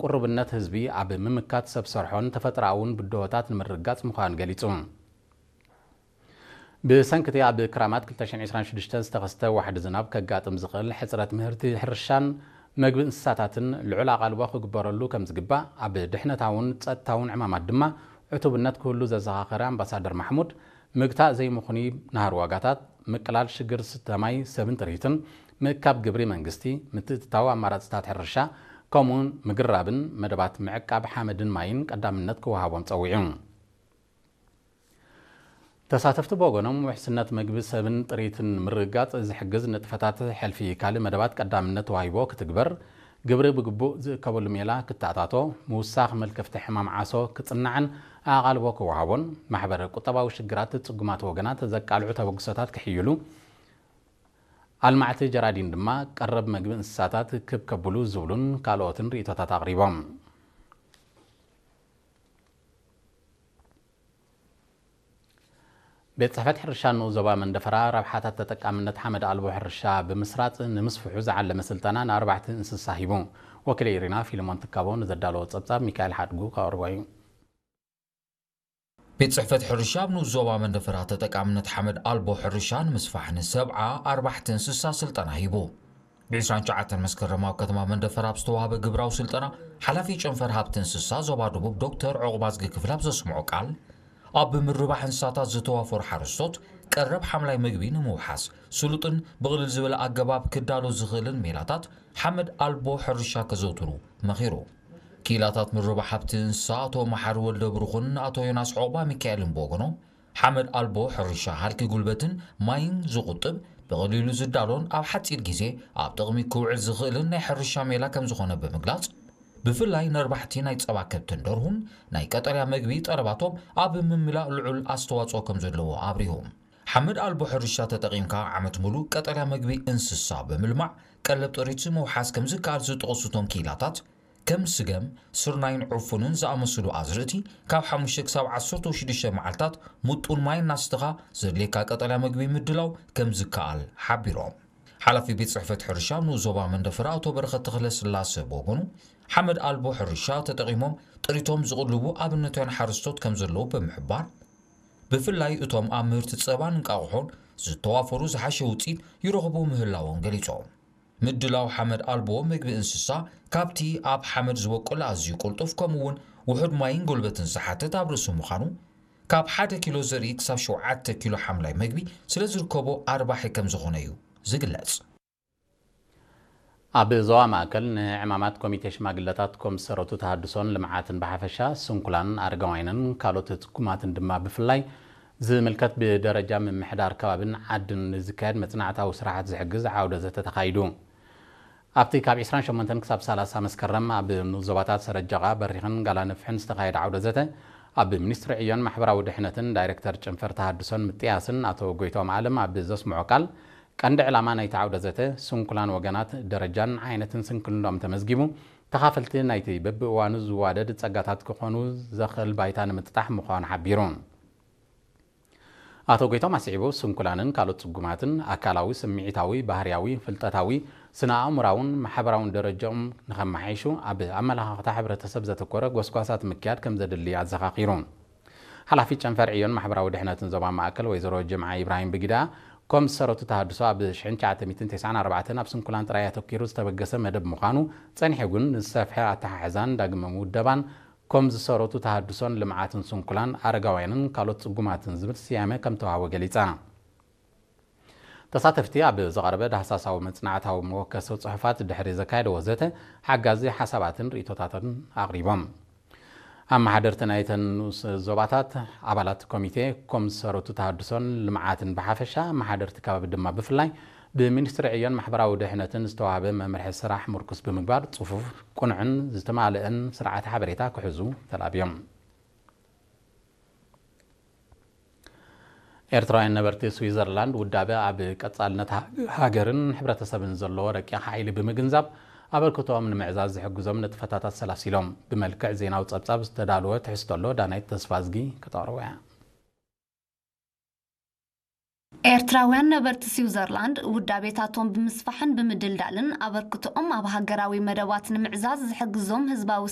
ቁሩብነት ህዝቢ ኣብ ምምካት ሰብ ሰርሖን ተፈጥሮኣውን ብድሆታት ንምርግጋጽ ምዃኑ ገሊጹ። ብሰንኪ እቲ ኣብ ክራማት ክልተ ሽሕን ዕስራን ሽዱሽተን ዝተኸስተ ዋሕዲ ዝናብ ከጋጥም ዝኽእል ሕጽረት ምህርቲ ሕርሻን መግቢ እንስሳታትን ልዑል ኣቓልቦ ክግበረሉ ከም ዝግባእ ኣብ ድሕነታውን ጸጥታውን ዕማማት ድማ ዕቱብነት ክህሉ ዘዘኻኸረ ኣምባሳደር ማሕሙድ፣ ምግታእ ዘይምኹኒ ናህሪ ዋጋታት፣ ምቅላል ሽግር ስተ ማይ ሰብን ጥሪትን፣ ምእካብ ግብሪ መንግስቲ፣ ምትእትታው ኣማራጽታት ሕርሻ፣ ከምኡውን ምግራብን መደባት ምዕቃብ ሓመድን ማይን ቀዳምነት ክወሃቦም ጸዊዑ። ተሳተፍቲ ብወገኖም ውሕስነት መግቢ ሰብን ጥሪትን ንምርግጋጽ ዝሕግዝ ንጥፈታት ሕልፊ ካልእ መደባት ቀዳምነት ተዋሂቦ ክትግበር፣ ግብሪ ብግቡእ ዝእከበሉ ሜላ ክተኣታቶ፣ ምውሳኽ መልከፍቲ ሕማም ዓሶ ክጽናዕን ኣቓልቦ ክወሃቦን፣ ማሕበረ ቁጠባዊ ሽግራት ጽጉማት ወገናት ዘቃልዑ ተበግሶታት ክሕይሉ፣ ኣልማዕቲ ጀራዲን ድማ ቀረብ መግቢ እንስሳታት ክብ ከብሉ ዝብሉን ካልኦትን ርእይቶታት ኣቕሪቦም። ቤት ጽሕፈት ሕርሻ ንኡስ ዞባ መንደፈራ ረብሓታት ተጠቃምነት ሓመድ ኣልቦ ሕርሻ ብምስራጽ ንምስፍሑ ዝዓለመ ስልጠና ንኣርባሕቲ እንስሳ ሂቡ። ወኪለ ኢሪና ፊልሞን ትካቦ ንዘዳለዎ ጸብጻብ ሚካኤል ሓድጉ ከቕርቦ እዩ። ቤት ጽሕፈት ሕርሻ ኣብ ንኡስ ዞባ መንደፈራ ተጠቃምነት ሓመድ ኣልቦ ሕርሻ ንምስፋሕ ንሰብዓ ኣርባሕቲ እንስሳ ስልጠና ሂቡ። ብ ዕስራን ትሽዓተን መስከረም ኣብ ከተማ መንደፈራ ኣብ ዝተዋህበ ግብራዊ ስልጠና፣ ሓላፊ ጨንፈር ሃብቲ እንስሳ ዞባ ደቡብ ዶክተር ዑቕባዝጊ ክፍለ ኣብ ዘስምዖ ቃል፣ ኣብ ምርባሕ እንስሳታት ዝተዋፈሩ ሓረስቶት ቀረብ ሓምላይ መግቢ ንምውሓስ፣ ስሉጥን ብቕልል ዝበለ ኣገባብ ክዳሎ ዝኽእልን ሜላታት ሓመድ ኣልቦ ሕርሻ ከዘውትሩ መኺሩ። ክኢላታት ምርባሕ ሃብቲ እንስሳ ኣቶ መሓሪ ወልደብሩኽን ኣቶ ዮናስ ዑቕባሚካኤልን ብወገኖም፣ ሓመድ ኣልቦ ሕርሻ ሃልኪ ጉልበትን ማይን ዝቑጥብ፣ ብቐሊሉ ዝዳሎን ኣብ ሓጺር ግዜ ኣብ ጥቕሚ ክውዕል ዝኽእልን ናይ ሕርሻ ሜላ ከምዝኾነ ብምግላጽ፣ ብፍላይ ነርባሕቲ ናይ ጸባ ከብትን ደርሁን ናይ ቀጠልያ መግቢ ጠለባቶም ኣብ ምምላእ ልዑል ኣስተዋጽኦ ከምዘለዎ ኣብሪሆም። ሓመድ ኣልቦ ሕርሻ ተጠቒምካ ዓመት ሙሉእ ቀጠልያ መግቢ እንስሳ ብምልማዕ ቀለብ ጥሪት ምውሓስ ከምዝከኣል ዝጠቐሱ እቶም ክኢላታት፣ ከም ስገም፣ ስርናይን ዕፉንን ዝኣመሰሉ ኣዝርእቲ ካብ ሓሙሽተ ክሳብ ዓሰርተ ሽዱሽተ መዓልታት ምጡን ማይ እናስተኻ ዘድልየካ ቀጠልያ መግቢ ምድላው ከምዝከኣል ሓቢሮም። ሓላፊ ቤት ጽሕፈት ሕርሻ ንኡስ ዞባ መንደፈራ ኣቶ በረኸት ተኽለስላሰ ብወገኑ፣ ሓመድ ኣልቦ ሕርሻ ተጠቒሞም ጥሪቶም ዝቕልቡ ኣብነታውያን ሓረስቶት ከምዘለዉ ብምሕባር፣ ብፍላይ እቶም ኣብ ምህርቲ ጸባን እንቃቑሖን ዝተዋፈሩ ዝሓሸ ውጽኢት ይረኽቡ ምህላዎም ገሊጾም። ምድላው ሓመድ ኣልቦ መግቢ እንስሳ ካብቲ ኣብ ሓመድ ዝበቁል ኣዝዩ ቅልጡፍ ከምኡ'ውን ውሑድ ማይን ጉልበትን ዝሓትት ኣብ ርእሲ ምዃኑ፣ ካብ ሓደ ኪሎ ዘርኢ ክሳብ ሸውዓተ ኪሎ ሓምላይ መግቢ ስለ ዝርከቦ ኣርባሒ ከም ዝኾነ እዩ ዝግለጽ። ኣብ ዞባ ማእከል ንዕማማት ኮሚቴ ሽማግለታት ኮም ዝሰረቱ ተሃድሶን ልምዓትን ብሓፈሻ፣ ስንኩላን ኣረጋውያንን ካልኦት ጽጉማትን ድማ ብፍላይ ዝምልከት ብደረጃ ምምሕዳር ከባብን ዓድን ንዝካየድ መጽናዕታዊ ስራሓት ዝሕግዝ ዓውደ ዘተ ተኻይዱ። ኣብቲ ካብ ዕስራን ሸሞንተን ክሳብ ሰላሳ መስከረም ኣብ ንኡስ ዞባታት ሰረጀቓ፣ በሪኽን ጋላነፍሕን ዝተኻየደ ዓውደ ዘተ፣ ኣብ ሚኒስትሪ ዕዮን ማሕበራዊ ድሕነትን ዳይሬክተር ጨንፈር ተሃድሶን ምጥያስን ኣቶ ጎይቶም ኣለም ኣብ ዘስምዖ ቃል፣ ቀንዲ ዕላማ ናይቲ ዓውደ ዘተ፣ ስንኩላን ወገናት ደረጃን ዓይነትን ስንክልንኦም ተመዝጊቡ፣ ተኻፈልቲ ናይቲ በብእዋኑ ዝዋደድ ጸጋታት ክኾኑ ዘኽእል ባይታ ንምጥጣሕ ምዃኑ ሓቢሩ። ኣቶ ጎይቶም ኣስዒቡ፣ ስንኩላንን ካልኦት ጽጉማትን ኣካላዊ፣ ስምዒታዊ፣ ባህርያዊ፣ ፍልጠታዊ፣ ስነ-ኣእምራውን ማሕበራውን ደረጃኦም ንኸመሓይሹ ኣብ ኣመለኻኽታ ሕብረተሰብ ዘተኮረ ጎስጓሳት ምክያድ ከም ዘድሊ ኣዘኻኺሩ። ሓላፊ ጨንፈር ዕዮን ማሕበራዊ ድሕነትን ዞባ ማእከል ወይዘሮ ጅምዓ ኢብራሂም ብጊዳ፣ ኮም ዝሰረቱ ተሃድሶ ኣብ ሽሕን ትሽዓተ ሚእትን ተስዓን ኣርባዕተን ኣብ ስንኩላን ጥራይ ኣተኲሩ ዝተበገሰ መደብ ምዃኑ ጸኒሑ ግን ንዝሰፍሐ ኣተሓሕዛን ዳግመ ምውደባን ኮም ዝሰረቱ ተሃድሶን ልምዓትን ስንኩላን ኣረጋውያንን ካልኦት ጽጉማትን ዝብል ስያመ ከም ተዋህቦ ገሊጻ። ተሳተፍቲ ኣብ ዝቐረበ ዳህሳሳዊ መጽናዕታዊ መወከሲ ጽሑፋት ድሕሪ ዘካየድዎ ዘተ ሓጋዚ ሓሳባትን ርእይቶታትን ኣቕሪቦም። ኣመሓደርቲ ናይተን ንኡስ ዞባታት፣ ኣባላት ኮሚቴ ኮም ዝሰረቱ ተሃድሶን ልምዓትን ብሓፈሻ፣ ኣመሓደርቲ ከባቢ ድማ ብፍላይ፣ ብሚኒስትሪ ዕዮን ማሕበራዊ ድሕነትን ዝተዋህበ መምርሒ ስራሕ ምርኩስ ብምግባር፣ ጽፉፍ፣ ቅኑዕን ዝተማልአን ስርዓተ ሓበሬታ ክሕዙ ተላብዮም። ኤርትራውያን ነበርቲ ስዊዘርላንድ፣ ውዳበ ኣብ ቀጻልነት ሃ-፣ ሃገርን ሕብረተሰብን ዘለዎ ረቂቕ ሓይሊ ብምግንዛብ፣ ኣበርክቶኦም ንምዕዛዝ ዝሕግዞም ንጥፈታት ኣሰላሲሎም ብመልክዕ ዜናዊ ጸብጻብ ዝተዳለወ ትሕዝቶ ኣሎ። ዳናይት ተስፋዝጊ ከተቕርቦ እያ። ኤርትራውያን ነበርቲ ስዊዘርላንድ ውዳቤታቶም ብምስፋሕን ብምድልዳልን ኣበርክቶኦም ኣብ ሃገራዊ መደባት ንምዕዛዝ ዝሕግዞም ህዝባዊ